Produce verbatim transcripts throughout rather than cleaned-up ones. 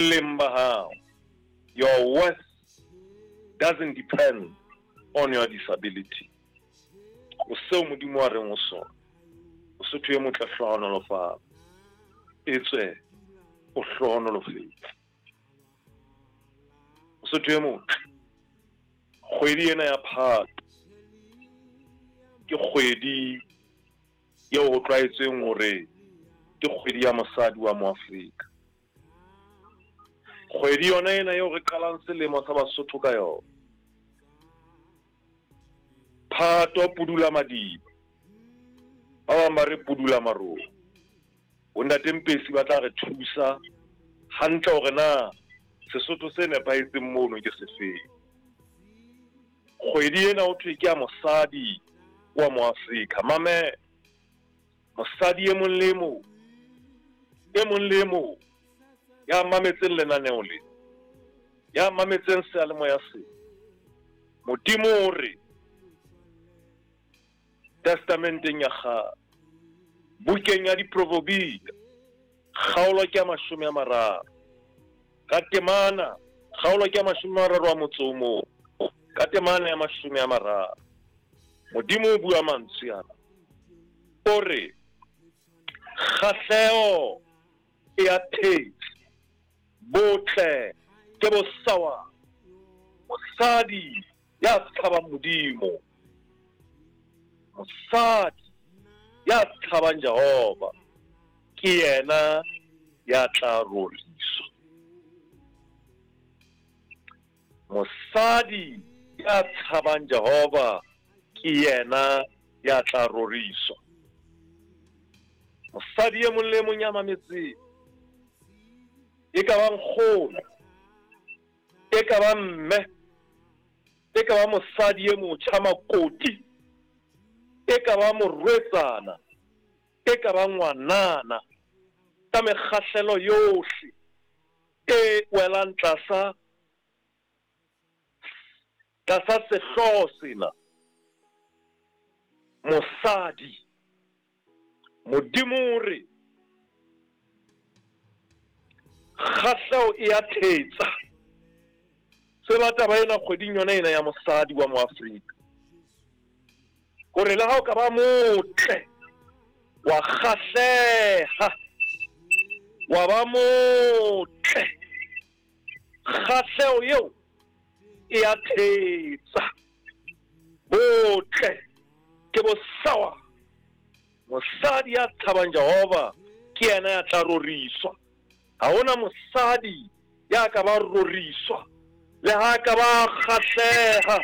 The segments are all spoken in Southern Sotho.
Boleng ba hao, your worth doesn't depend on your disability. O seo Modimo a reng o sona. Mosotho e motle, hlohonolofala, etswe o hlohonolofetse. Mosotho e motle, kgwedi ena ya Phato ke kgwedi eo ho tlwaetsweng hore ke kgwedi ya mosadi wa Moafrika. Kgwedi yona ena eo re qalang selemo sa Basotho ka yona. Phato pudula madiba, ba bang ba re pudula marong. Bontate Mpesi ba tla re thusa hantle hore na Sesotho se nepahetseng mono ke sefeng. Kgwedi ena ho thwe ke ya mosadi wa Moafrika. Mamela, mosadi e mong le e mong, e mong le e mong ya mametseng lenaneo le, ya mametseng seyalemoya se, Modimo o re Testamenteng ya kgale, bukeng ya Diproverbia, kgaolo ke ya mashome a mararo, ka temana, kgaolo ke ya mashome a mararo a motso o mong, ka temana ya mashome a mararo. Modimo o bua mantswe ana, o re kgahleho e a thetsa, botle ke bosawa, mosadi ya tshabang Modimo, mosadi ya tshabang Jehova ke yena ya tla roriswa. Mosadi ya tshabang Jehova ke yena ya tla roriswa. Mosadi e mong le e mong ya mametseng, e ka ba nkgono, e ka ba mme, e ka ba mosadi e motjha makoti, e ka ba morwetsana, e ka ba ngwanana, ka mekgahlelo yohle e welang tlasa tlasa sehlooho sena, mosadi. Modimo o re kgahleho e a thetsa. Tseba taba ena kgweding yona ena ya mosadi wa Moafrika, hore le ha o ka ba motle, wa kgahleha, wa ba motle, kgahleho eo e a thetsa. Botle ke bosawa. Mosadi ya tshabang Jehova ke yena ya tla roriswa. Ha hona mosadi ya ka ba roriswa, le ha ka ba kgahleha,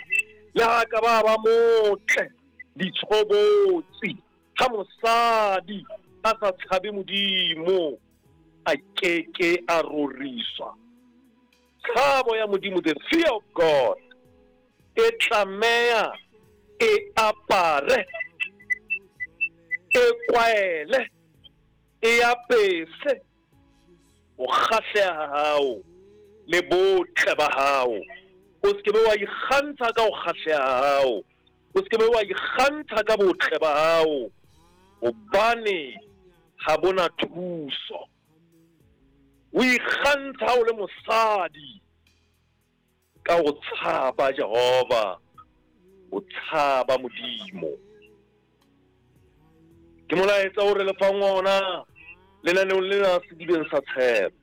le ha ka ba ba motle ditshobotsi. Ha mosadi a sa tshabe Modimo, a keke a roriswa. Tshabo ya Modimo, the fear of God, e tlameha e apare, e kwaele, e apese ho kgahleha ha hao le botle ba hao. O se ke be wa ikgantsha ka ho kgahleha ha hao, o se ke be wa ikgantsha ka botle ba hao, hobane ha bona thuso. O ikgantsha o le mosadi ka ho tshaba Jehova, o tshaba Modimo. Ke molaetsa o re le fang ona lenaneong lena Sedibeng sa Tshepo.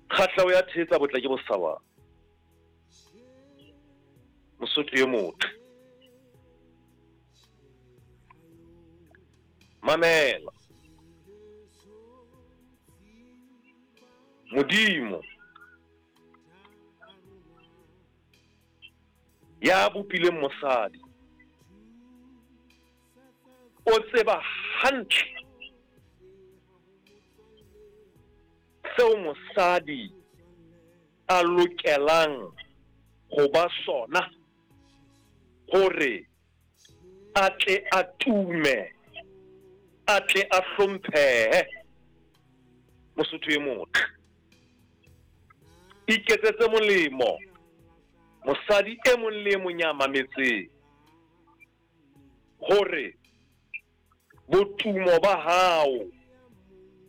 Kgahleho ya thetsa, botle ke bosawa. Mosotho e motle, mamela. Modimo ya bopileng mosadi o tseba hantle seo mosadi a lokelang ho ba sona hore a tle a tume, a tle a hlomphehe. Mosotho e motle, iketsetse molemo mosadi e mong le e mong ya mametseng, hore botumo ba hao